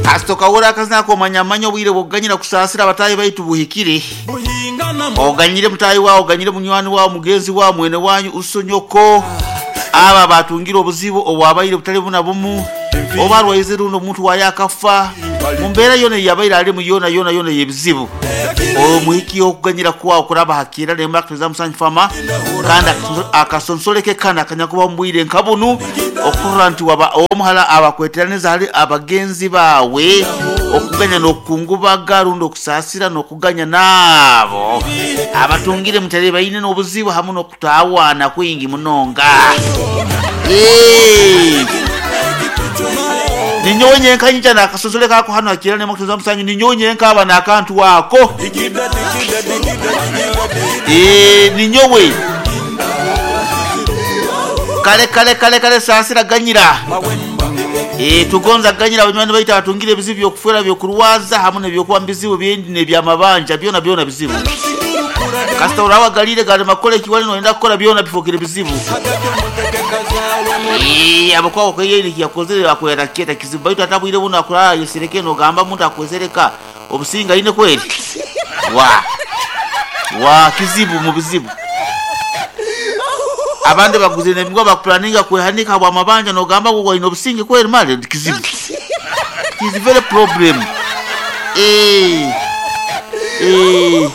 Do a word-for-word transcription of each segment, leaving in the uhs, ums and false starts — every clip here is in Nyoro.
Kasitoka akazina akomanya amanya obwire bwoganyira kusaasira abatayi baitu buhikire. Oganyire mutayi wawe, oganyire munywani wawe, mugenzi wawe, mwene wanyu, usonyoko. Aba batungira obuzibu obwabaire butali buna bumu. Oba arwaize runo omuntu waye akafa. Mu mbeera yona yabaire alimu yona yona yona y'ebizibu. Omuhiki okuganyira kwawo kuraba hakira nemba kutuza musanyu fama kandi akasonsoleke kana akanyakuba mbwire nkabunu okurra nti waba omuhala abakweteraniza hali abagenzi bawe okuganya n'okukungubaga rundi okusaasira n'okuganya naabo abatungire mutale baine n'obuzibu hamu n'okutawaana kwingi munonga. Eh ninyowe nyenka nyija nakasosole kako hano akira ne makutuza musanyu ninyowe nyenka aba nakantu wako eh ninyowe kale kale kale kale saasira ganyira eh tugonza ganyira abanywani baita batungire ebizibu byokufera byokurwaza hamu nebyokuba mbizibu byendi nebyamabanja byona byona bizibu kasita urawa galire gale makole kiwali noenda kukola byona bifokere bizibu. Eh abakwa kweyeri yakozere akwera keta kizibu baitu atabwire buno akulala yesereke no gamba muntu akwezereka obusinga ine kweli wa wa kizibu mu bizibu abandi baguze nebingwa bakuplaninga kwehanika bwa mabanja no gamba ngo ino obusinge kweli mali kizibu. It is very problem. Eh eh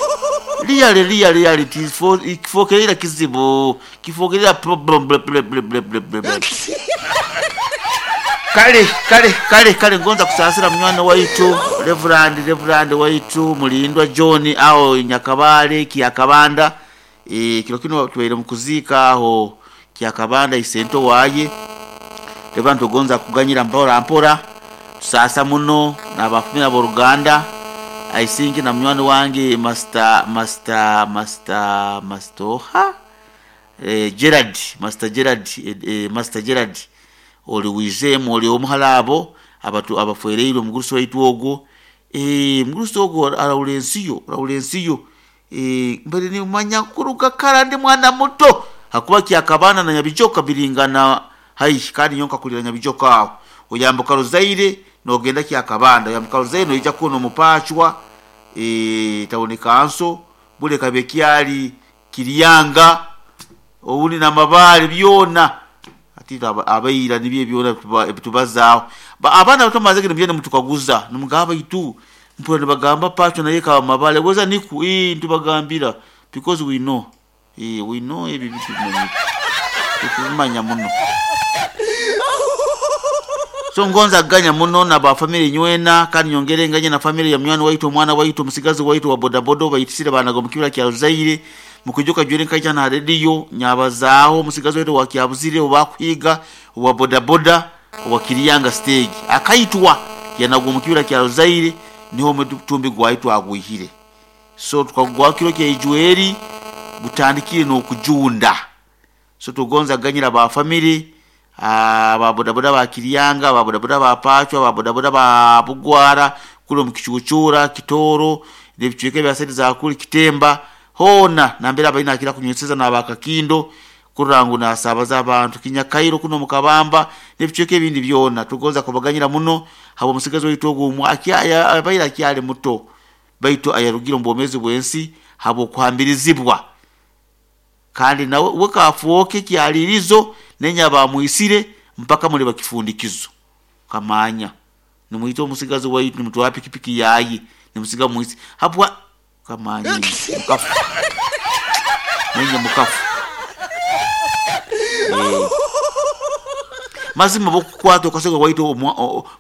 Really, really, really, it is for kifokerera kizibu, kifokerera problem, ble, ble, ble, ble, ble, ble. Kale, kale, kale, kale, ngonza kusaasira munywani waitu, Reverend, Reverend waitu, Mulindwa John, aho Nyakabale, Kiakabanda. Eh, kilo kino tuwaire mukuzika aho Kiakabanda isento waye. Reverend tugonza kuganyira mpora mpora. Tusasa muno n'abafumira b'Oruganda. I think na munywani wange Master Master Master Master ha eh, Gerard Master Gerard eh, eh, Master Gerard oli wizemu oli omuhalabo abatu abafuereire omugurusi waitu ogwo eh mugurusi ogwo arawula ensiyo arawula ensiyo eh mbere ni manya kuruga kara ndi mwana muto hakuba kyakabana na Nyabijoka biringana hai kandi nyonka kulira Nyabijoka aho oyambuka Ruzaire nogenda kyakabanda oyambuka Ruzaire noija kuno mupachwa eh tawone kanso bule kabekyali Kiriyanga owuni na mabale byona ati abayira nibye byona ebitubazaaho abana batomaze gino byene mutukaguza nimugaba itu mpura nibagamba pacho naye ka mabale weza niku eh ntubagambira because we know eh we know ebi bitu tumanya muno. So ngonza ganya muno na ba family nywena kandi nyongere nganye na family ya munywani waitu mwana waitu musigazi waitu wa bodabodo bayitisire banago mukibira kya Ruzaire mukujuka jwere nkaija na radio nyabazaaho musigazi waitu wa Kyabuzire obakwiga wa bodaboda wa Kiriyanga stage akaitwa yanagwa mukibira kya Ruzaire niho mutumbi gwaitu agwihire. So tukagwa kiro kya Ijueri gutandikire no kujunda. So tugonza ganyira ba family aba bodaboda ba Kiriyanga, ba bodaboda ba Pachwa, ba bodaboda ba Bugwara kulo mukichuchura Kitoro nebichweke bya sente za kuli Kitemba hona nambera abalina akira kunyweseza n'abakakindo kurangu nasabaza abantu Kinyakairo kuno mukabamba nebichweke ebindi byona tugonza kubaganyira muno habo musigazi waitu ogwo akyaya abaira akyali muto baitu ayarugira mbomezi bwensi habo kuhambirizibwa kandi nawe wekafuoke kyalirizo nenya bamuisire mpaka muri bakifundikizo kamanya nimuito omusigazi waitu nimutwa pikipiki yayi nimusiga muisi habwa kamanya mukafu nenya mukafu e. Mazima bokukwata okasega waitu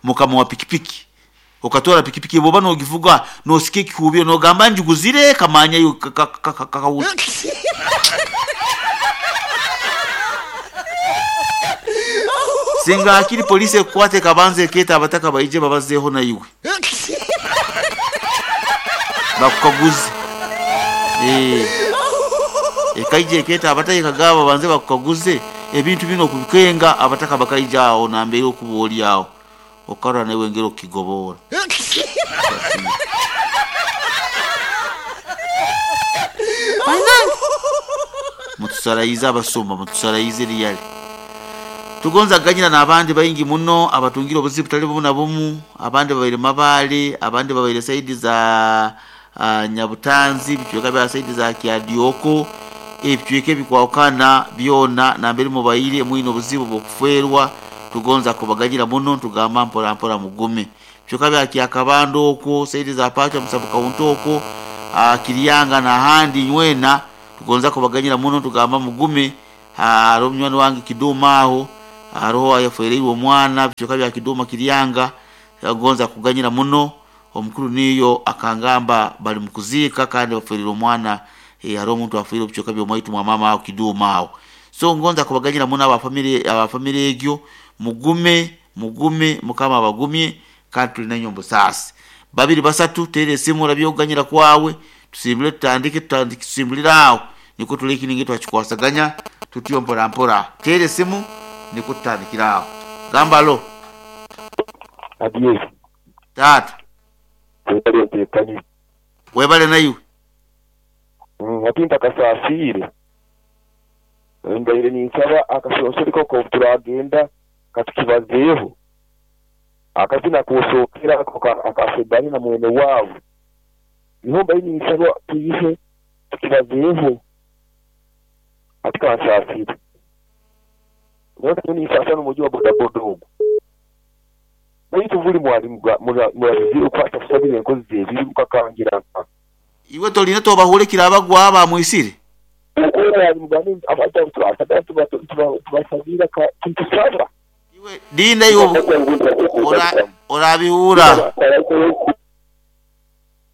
mukama wa pikipiki okatora pikipiki boba nogivuga nosike kikubyo nogamba njuguzire kamanya yo kakawuti singa akiri polisi ekwate kabanze keta abataka baije babazeho na iwe bakukaguze eh ekaije keta abataka kagaba banze bakukaguze ebintu bino kubikenga abataka bakaija aho nambere okuboli aho okara nawe ngero kigobora mutusarayiza abasumba mutusarayize riyali Tugonza ganyira n'abandi baingi muno abatungire obuzibu butali bumu na bumu, abandi babaire Mabaale, abandi babaire saidi za uh, Nyabutanzi, bicweka bya saidi za Kyadioko, ebicweka ebikwawukana byona nambere mubaire mwine obuzibu bw'okufeerwa. Tugonza kubaganyira muno, tugamba mpora mpora mugume. Bicweka bya Kyakabando okwo, saidi za Pacha Musabu Kaunti okwo, uh, Kiryanga n'ahandi nywena tugonza kubaganyira muno, tugamba mugume. Hariho munywani wange Kiduma aho, hariho ayafereirwe omwana, bicweka bya Kiduma Kiryanga, agonza kuganyira muno. Omukuru niyo akangamba bali mukuziika kandi baferire omwana, eh, hariho omuntu afiire bicweka by'omwaitu mwa mama aho Kiduma aho. So ngonza kubaganyira muno aba family, aba family egyo, mugume mugume, mukama abagumye kandi tuli nanyo obusaasi. Babiri basatu tere esimu orabye okuganyira kwawe, tusimbule tutandike, tutandike tusimbulire aho niko tulekininge twakikwasaganya tutyo mpora mpora. Tere esimu niko tutandikira aho. Gamba lo Adiye. Tata. Webale ntekanye. Webale nayo. Mm, ati ntakasafire. Ndaire ninsaba akasosori ko turagenda katukibazeeho. Akazina kusokera akafedani na mwene wabo. Niho mbaye ninsaba tuyihe tukibazeeho. Ati kansafire. Nyoka ni sasa n'umujyi wa bodaboda ogwo. Baitu buli mwalimu murabizi ukwata kusabira enkozi zebiri ukakangira. Iwe tolina tobahulekira abagwa abamwisire. Tubasabira kintusaba. Iwe dinda iwe orabihura.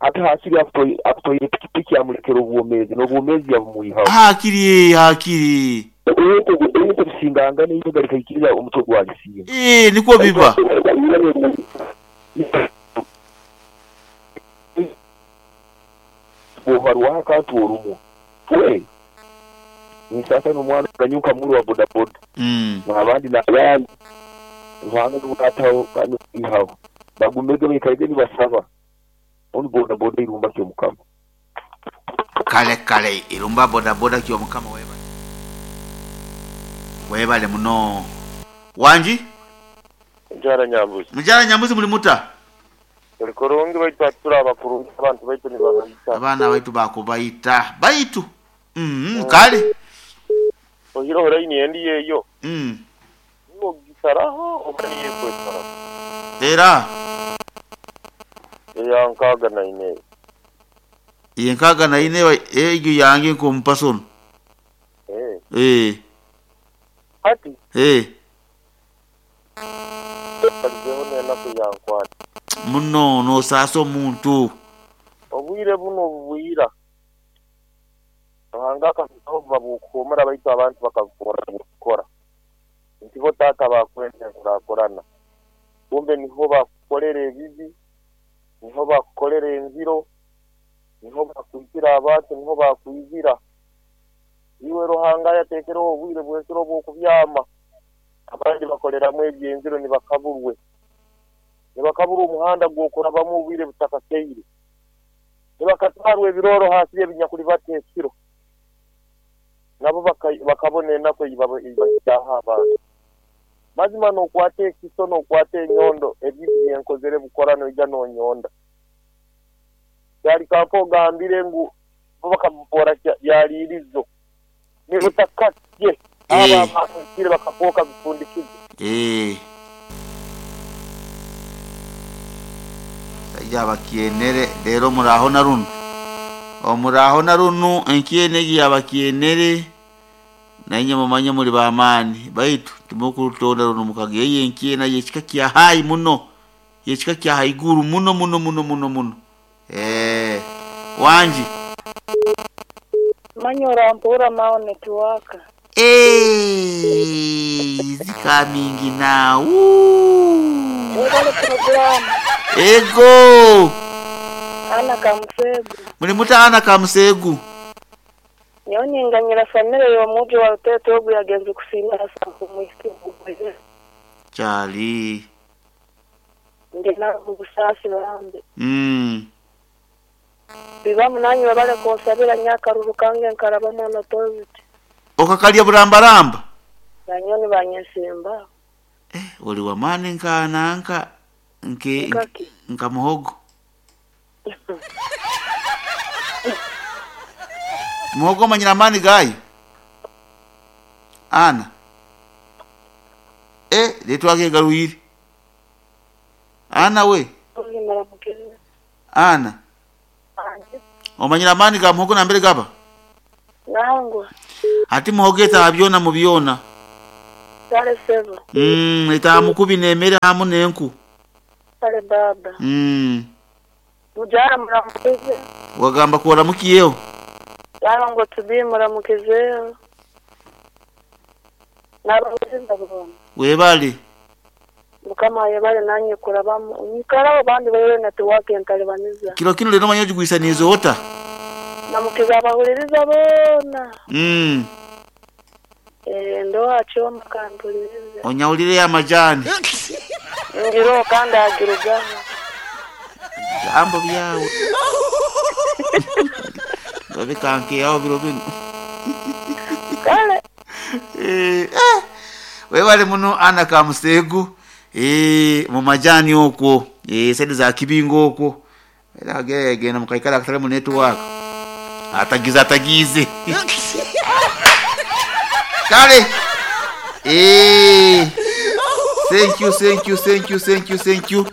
Ate hakiri akutoire pikipiki amulekera obwomezi n'obwomezi yabumuyihaho. Hakiri hakiri. Ebintu bisinganga n'eibuga likaikiriza omutwe gwalisinga. Eh, niko biba. Buharwa akantu orumu. We. Nisasa n'omwana ganyuka muru wa bodaboda. Mm. N'abandi n'abandi. Ruhanga n'ubutaho kandi ihaho. Bagumege bikaige nibasaba. Oni bodaboda irumba kyo mukama. Kale kale irumba bodaboda kyo mukama weba. Webale muno. Wanji? Mujara Nyambuzi. Mujara Nyambuzi muli muta? Tulikurungi baitu atura abakurungi abantu baitu nibabaita. Abana baitu bakubaita. Baitu. Mm, mm kale. Ohiro horaini endi yeyo. Mm. Niwo gisaraho omani yekwesara. Era. Eya nkaga na ine. Iye nkaga na ine ejo yange nkompasono. Eh. Eh. Ati. Eh. Muno no saso muntu. Obwire buno bwira. Ruhanga akaho babukomera baitu abantu bakakora gukora. Ntibo tata bakwenda kurakorana. Kumbe niho bakorere ebibi, niho bakorere enziro, niho bakwitira abantu, niho bakwizira. Iwe Ruhanga yatekera obwire bwekiro bw'okubyama. Abandi bakoreramu ebyenziro nibakaburwe. Nibakabura omuhanda gw'okurabamu obwire butakakeire. Nibakatwarwa ebiroro hasi y'ebinyakuli bateekiro. Nabo bakabona enaku ibahyaho abantu. Mazima n'okwata ekiso n'okwata enyondo ebibi byenkozere bukora noija n'onyonda. Kyali kanko ogambire ngu bo bakamupora byaliirizo. Nibutakatye aba abantu bakafoka bifundikizo. Eh. Sajja bakienere rero muraho na runo. Omuraho na runo enkienegi abakienere nanye mumanye muri bamani baitu tumukurutonda runo mukageye enkiena yekika kya hai muno. Yekika kya haiguru muno muno muno muno muno. Eh. Wanji Manyora mpura mao network. Eh, zika mingi na. Webale program. Ego. Ana kamusegu. Muri muta ana kamusegu. Nyonyi nganyira family yo muji wa Rutete ogu yagenze kusima hasa kumwisi. Chali. Ndi na busasi barambe. Mm. Bibamu nanyu babale konsabira nyakaruru kange nkaraba mwana toziti. Okakalya burambaramba. Banyoni banyesimba. Eh, oli wamani nka nanka nke Nkaki. nka muhogo. Muhogo manyira amani gayo. Ana. Eh, letwake garuire. Ana we. Muramukize. Ana. Omanyira amani ga muhogo na mbere gaba. Nangwa. Ati muhogo eta byona mu byona. Sale sevo. Mm, eta mukubi nemere hamu nenku. Sale baba. Mm. Mujara muramukize. Wagamba kuwaramukiyeho. Yaba ngo tubi muramukize. Nabamukiza bona. Webale. Mukama yebale nanye kurabamu. Nikarabo bandi bayo network entalibaniza. Kilo kino lero manyo jugwisanizo ota. Namukiza abahuliriza bona. Mm. Eh ndo achoma kantuliriza. Onyawulire ya majani. Ngiro kanda agirugaho. Jambo byawe. Babe kanke yao biro bino. Kale. Eh eh. Webale muno ana kamusegu. Eh mu majani okwo. Eh sedi za kibingo okwo. Era genda mukaikala katale mu network. Atagiza atagize. Kale. Eh. Thank you, thank you, thank you, thank you, thank you.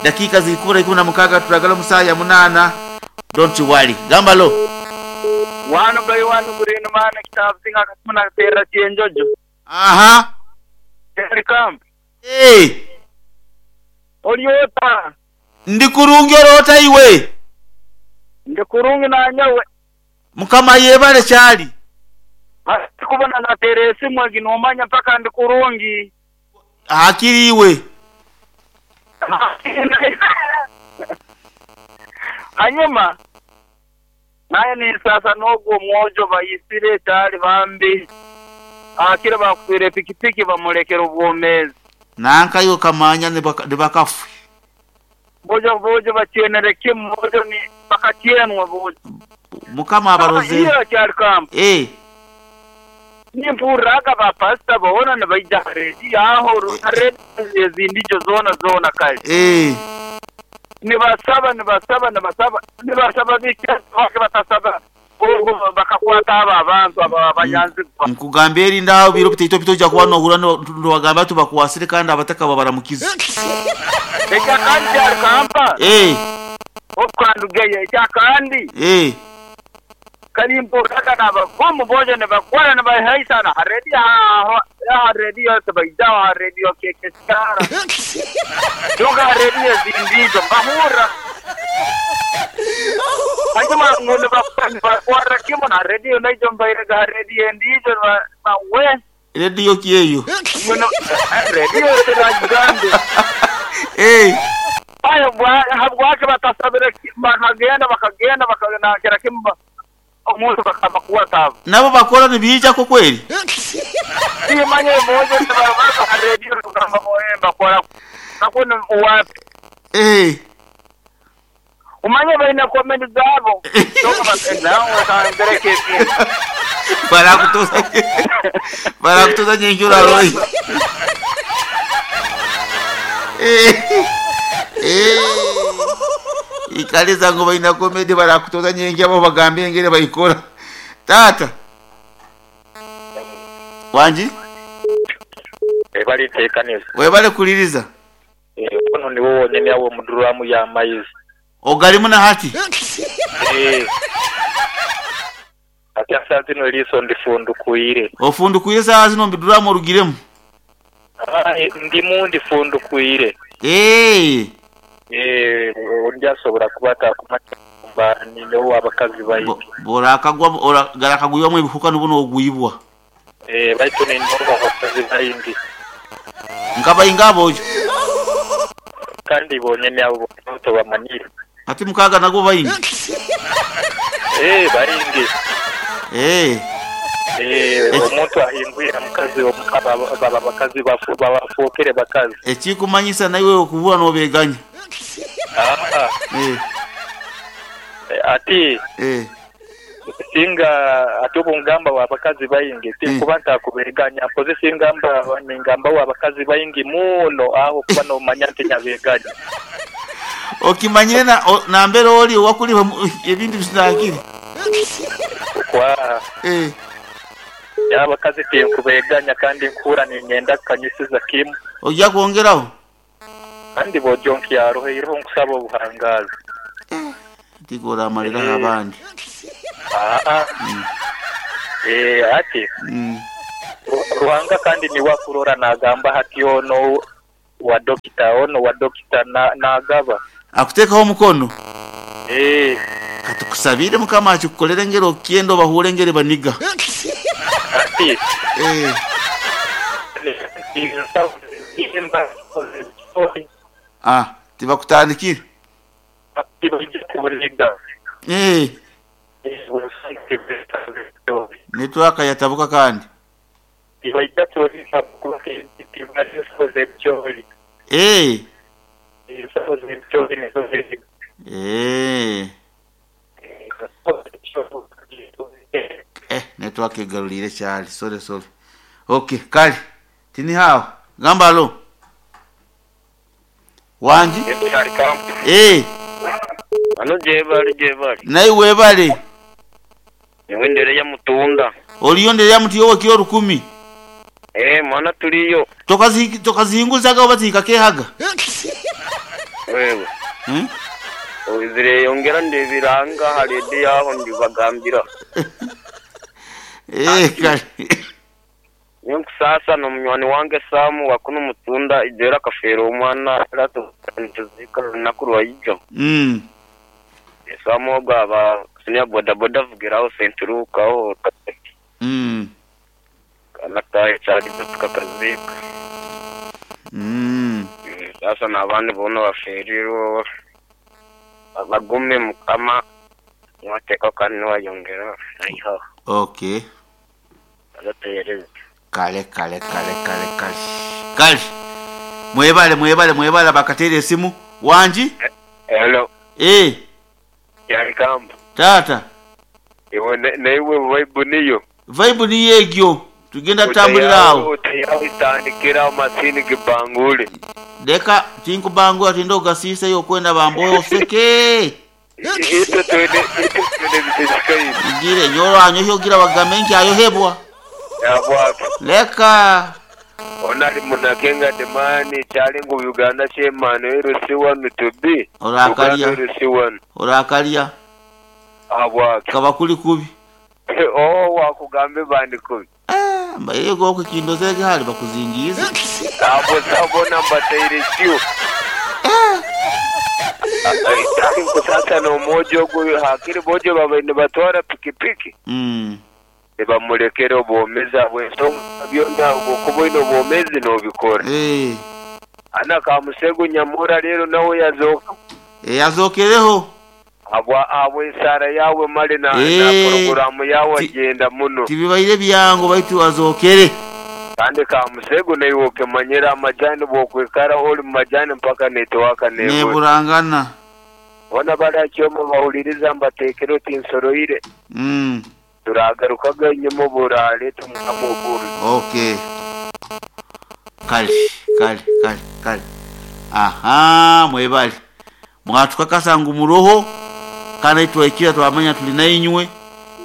Dakika zikura ikumi na mukaga turagala musaya munana. Don't you worry. Gamba lo. Wano bai wano gurino mana kitabu singa katumuna tera chenjojo. Aha. Terikam. Eh. Oliota. Ndi kurungi orota iwe. Ndi kurungi na nyawe. Mukama yebale chali. Kubona na teresi mwagi nomanya mpaka ndi kurungi. Hakiri iwe. Hanyuma naye ni sasa nogo mwojo bayisire cyari bambi akira bakwire pikipiki bamulekera ubwomezi nanka yo kamanya ne bakafu bojo bojo bakienere kimmojo ni bakakienwa bojo mukama abaroze iyo cyari kam eh nimpuraga ba pastor bona ne bayija redi aho redi zindijo zona zona kale eh nibasaba nibasaba nibasaba nibasaba bike batasaba ubwo bakakwata aba abantu aba banyanzi nkugambye eri ndaho biro piteito pitoja kuba nohura ndowagamba tubakuwasire kandi abataka babaramukiza eka kandi akampa eh okandugeye eka kandi eh kalimpo kaka na bavumu boje ne bakwara ne bahaisa na haredi ha haredi yose bayidawa haredi keke skara doga haredi zindizo bahura hanyuma ngone bakwara kimo na haredi naijo mbaire ga haredi ndizo ba we radio kiyeyo ngono radio tiragambe eh ayo habwake batasabira bakagenda bakagenda bakagenda kera kimba omuntu bakabakuwata nabo bakora nibija ko kweli simanye moja baba radio kama moemba kwa nakuna wapi eh umanye baina comment zabo toka batenda wakangereke para kutoza para kutoza nyenjura roi eh eh ikaliza ngo baina comedy bara kutoza nyengi abo bagambye ngere bayikora tata wanji e bali tekanisa we bali kuliriza eh ono ni wowe nyene yawo muduramu ya mayizi ogalimu na hati eh ati asante no liso ndifundukuire ofundukuire saa zino mbiduramu orugiremu ah ndimu ndifundukuire eh eh ndyasobora kubata kumatumba ni no abakazi bayi borakagwa garakagwiwa mu bihuka nubuno ogwibwa eh baitu ni ndo abakazi bayindi nkaba ingabo kandi bonyene abo to bamanire ati mukaga nago bayindi eh bayindi eh eh omuntu ahingwira mukazi omukaba baba bakazi bafu babafokere bakazi ekikumanyisa nawe okubura nobeganya ah eh ati eh Singa ate obungamba wabakazi baingi tinkuba ntakubeganya mpozi singamba ningamba wabakazi baingi muno aho kuba nomanya nti nyabeganya. Okimanyire na o, nambere oli wakuli ebintu bisinagire. Kwa eh yabakazi tinkubeganya kandi nkura ninyenda kanyisiza kimu. Ojja kwongeraho? Kandi bojonki yaroheirho nkusaba obuhangazi. Eh, tigora amalira eh. Abandi. Ah ah. Mm. Eh ati. Mm. Ruhanga kandi ni wakurora nagamba hati ono wa dokita ono wa dokita na nagaba. Akutekaho omukono. Eh. Katukusabire mukama akikukolere ngero kiendo bahure ngere baniga. Ati. Eh. Ah, tibakutandikire. Eh. Network yatabuka kandi. Eh. Eh. Eh, network egarulire cyali. Sorry sorry. Okay, kali. Tini hao. Gamba lo. Wanji? Eh. Ano jebali jebali. Naye webale. Niwendere ya mutunda. Oliyondere ya mutiyo kiro rukumi. Eh, mwana tuliyo. Tokazi tokazinguzaga obatika kehaga. Wewe. Hmm? Ozire yongera ndebiranga halede yaho ndibagambira. Eh, kali. Nyokusasa no munywani wange Samu wakuno mutunda ijera kafero omwana rato ntuzika nakuru wayijo. Mm. Samu ogaba senior boda boda vugiraho sentruka aho. Mm. Kanata cyari tukakazika. Mm. Sasa nabandi bono baferiro bagume mukama mwateka kandi wayongera ayiho. Okay. Agatereze. Kale kale kale kale kale. Kale. Mwebale mwebale mwebale bakatere esimu wanji? Hello. Eh. Yari kamba. Tata. Iwe naiwe vibe niyo. Vibe ni yegyo. Tugenda tambulirawo. Utayawo itandikira masini kibangule. Leka tinkubangula tindo gasisa yo kwenda bamboyo seke. Ito twende ito twende bisikayi. Ngire nyoro anyo gira bagamenki ayo hebwa. Yabwaka. Leka. Onali munakenga demani chalingu Uganda chemano erusiwanu to be. Orakalia. Erusiwanu. Orakalia. Abwaka. Kabakuli kubi. Oh wakugambe bandi kubi. Eh, mbaye goko kindozege hali bakuzingiza. Abo sabo namba teire kyo. Eh. Kusasa no mojo gwe hakiri bojo babende batwara pikipiki. Mm. Bamulekere obwomezi bw'ensonga byonna okuba ino obwomezi n'obikora. Eh. Ana kamusego nyamura rero nawe yazooka. Eh yazokereho. Abwa abwe ensara yawe male na, e. na programu yawe agenda muno. Tibibaire byango baitu wazokere. Kandi kamusego naye okemanyira amajani bwokwekara oli mu majani mpaka netowaka nebura. Neburangana. Bona barakyoma bahuliriza mbatekero tinsoroire. Mm. Turagarukaga inyuma burale tumukamuguru. Okay. Kali kali kali kali. Aha, mwebali. Mwatukakasa ngu muroho kana itwekira twamanya tulina inywe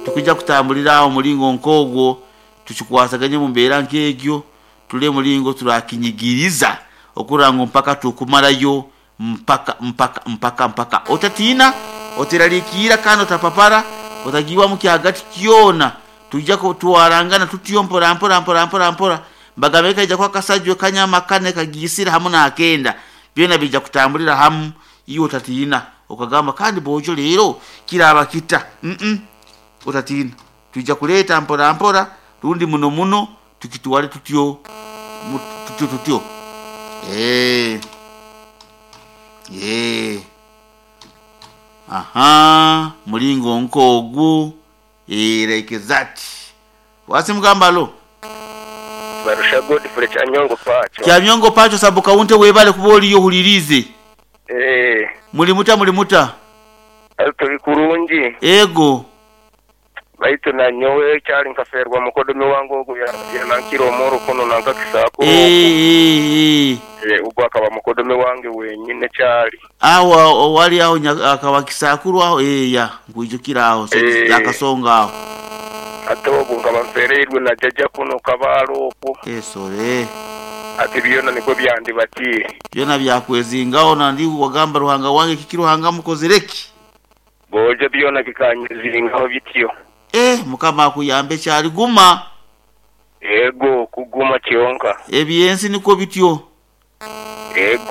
tukujja kutambulira awo mulingo nkogwo tukikwasaganye mu mbeera nk'egyo tule mulingo turakinyigiriza okurango mpaka tukumalayo mpaka mpaka mpaka mpaka otatina oteralikira kana otapapara otagiwa mu kyagati kyona tujja tuwarangana tutyo mpora mpora mpora mpora mpora mbagabeka ija kwa kasajwe kanyama kane kagisira hamu na akenda byona bija kutambulira hamu iyo otatina okagamba kandi bojo lero kiraba kita mm -mm. Otatina tujja kuleta mpora mpora rundi muno muno tukituwale tutyo tutyo tutyo eh eh aha mulingo nkogu eh like that wasimugamba lo barusha Godfrey Kyanyongo pacho Kyanyongo pacho sabuka unte webale kuboli yo hulirize eh muli muta muli muta tuli kurungi ego Baitu nanyowe kyali nkaferwa mukodomi wange ogu yanankira omoro kuno nankakisakuru. Eh, eh, eh. Ogwo akaba mukodomi wange wenyine kyali. Aho owali aho nya- akaba kisakuru aho eh ya nkwijukira aho Eh. yakasonga aho. Ate obu nkaba nfereirwe na jaja kuno kabaalo okwo. Esore. Ati byona nikwo byandibatiire. Byona byakwezingaho nandi wagamba Ruhanga wange kiki Ruhanga mukozereki. Bojo byona bikanyezingaho bityo. Eh mukama akuyambe kyali guma. Ego kuguma kyonka. Ebyensi niko bityo. Ego.